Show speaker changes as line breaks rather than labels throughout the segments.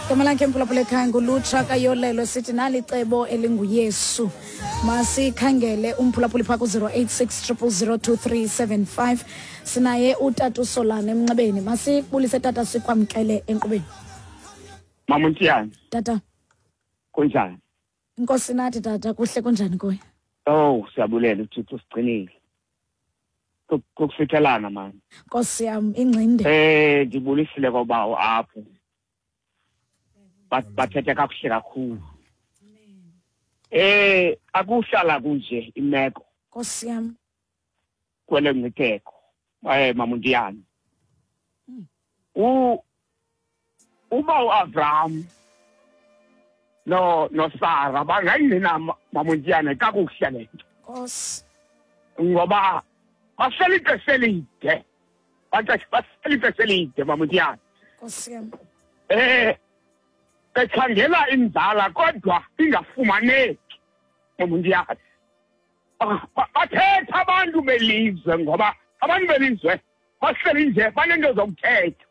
Igama lakhe mphulaphula ekhaya ngulutsha kayolelo, sithi nalicebo elinguYesu. Masikhangele umphulaphuli phaa ku-086 000 2375. Sinaye utata uSolana emnxebeni. Masibulise tata, sikwamkele enkqubeni.
Mama Ntiyane.
Tata.
Kunjani?
Inkosi nathi tata, kuhle, kunjani kuwe?
Oh, siyabulela uThixo sigcinile. Kukufithelana mani.
Nkosi yam, ingcinde.
Ndibulisile kobawo apho. Bathethe kakuhle kakhulu. Akuhlala kunje imeko.
Nkosi yam.
Kwele ngcitheko. Mama Ntiyane. Uba uAbraham no Sarah bangayingena Mama Ntiyane kakuhle le nto.
Nkosi.
Ngoba bahleli ixesha elide. Bahleli ixesha elide Mama Ntiyane.
Nkosi yam.
Bekhangela inzala kodwa ingafumaneki Mama Ntiyane. Bathetha abantu belizwe ngoba abantu belizwe bahleli nje banento zokuthetha.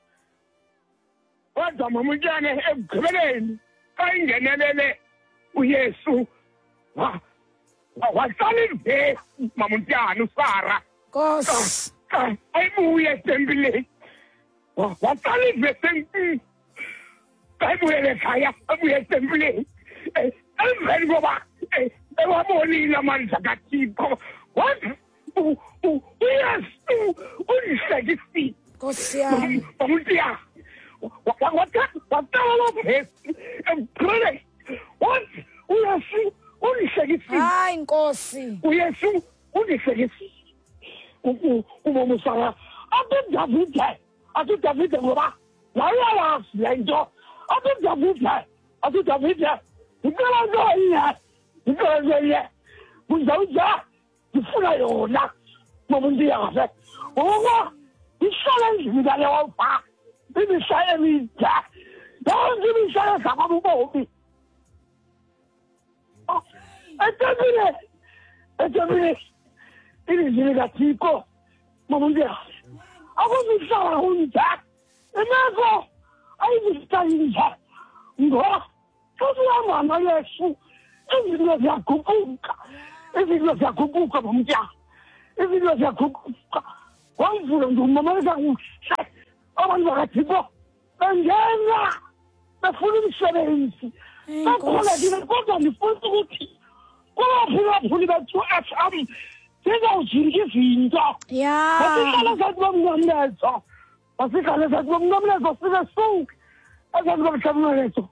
Kodwa Mama Ntiyane ekugqibeleni xa ingenelele uYesu wahlala ivesi Mama Ntiyane uSara.
Nkosi.
Ayibuye etempileni. Wahlala ivesi enkulu. Ayibuyele ekhaya, abuye etempileni. Emveni koba ewabonile amandla kaThixo, wathi uYesu undihlekisile.
Nkosi yam.
Mama Ntiyane. Waqala loo vesi ekugqibeleni. Wathi uYesu undihlekisile.
Hayi Nkosi.
uYesu undihlekisile. Ubomi uSara. Athi Davide, athi Davide ngoba wayeyazi le nto. Athi Davide, athi Davide, ndicela nto inye, ndicela nto inye. Kuzawuza ndifuna yona. Mama Ntiyane. Ngokuba ndihlala endlini kaYehova imihla emide. Yonke imihla yezama ubomi. Etempile, etempile, ilizwi likaThixo, Mama Ntiyane. Akuzihlala kunje. Imeko ayizihlala inje. Ngoba xa sihamba noYesu, izinto ziyaguquka. Izinto ziyaguquka, Mama Ntiyane. Izinto ziyaguquka. Wamvula ndimamamelisa kuhle. Abantu bakaThixo bengena befuna imisebenzi. Bakhulekile kodwa ndifuna ukuthi kubaphulaphuli bethu FM zizawujika izinto. Masihlale ezantsi komnqamlezo. Masihlale ezantsi komnqamlezo sibe sonke. Ezantsi komnqamlezo.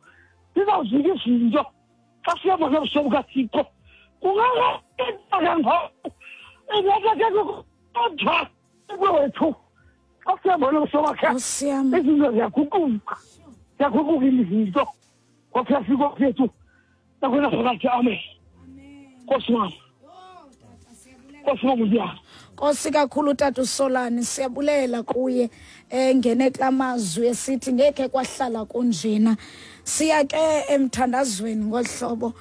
Zizawujika izinto. Xa sihamba nobuso bukaThixo. Kungangeka ngoku. Ingeke kodwa wethu. Xa sihamba nobuso bakhe.
Nkosi yam.
Izinto ziyaguquka. Ziyaguquka izinto. Kwaphela kwethu. Nakhona phakathi, amen. Nkosi wam. Nkosi wam uya.
Nkosi kakhulu tata uSolani, siyabulela kuye engene kula mazwi esithi ngeke kwahlala kunjena. Siya ke emthandazweni ngohlobo.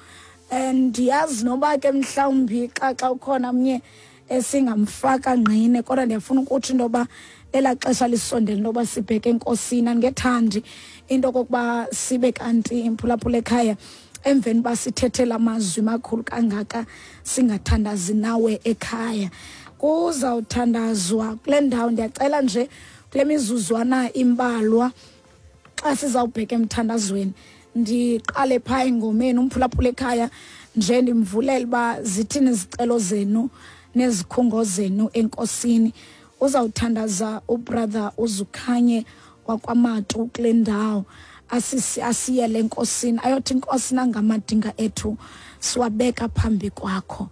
Ndiyazi noba ke mhlawumbi xa ukhona mnye esingamfaka ngqine, kodwa ndiyafuna ukutsho into yoba elaa xesha lisondele into yoba sibheke enkosini. Andingethandi into okokuba sibe kanti imphulaphula ekhaya emveni uba sithethela amazwi makhulu kangaka singathandazi nawe ekhaya. Kuzawuthandazwa kule ndawo, ndiyacela nje kule mizuzwana imbalwa xa sizawubheka emthandazweni ndiqale phaa engomeni umphulaphula ekhaya nje ndimvulele uba zithini izicelo zenu nezikhungo zenu enkosini. Uzawuthandaza ubrother uZukhanye wakwaMatu kule ndawo, asiyele enkosini, ayothi inkosi nangamadinga ethu siwabeka phambi kwakho,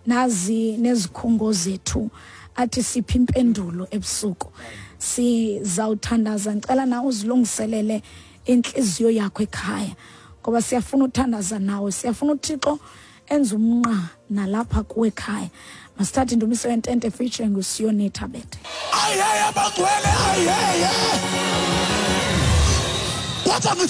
nazi nezikhungo zethu, athi siphi impendulo ebusuku. Sizawuthandaza, ndicela nawe uzilungiselele intliziyo yakho ekhaya, ngoba siyafuna uthandaza nawe, siyafuna uThixo enze umnqa nalapha kuwe ekhaya. Masithathe indumiso yentente featuring uSiyoni Thabethe.
Ayeye abangcwele, ayeye. Kodwa ngithi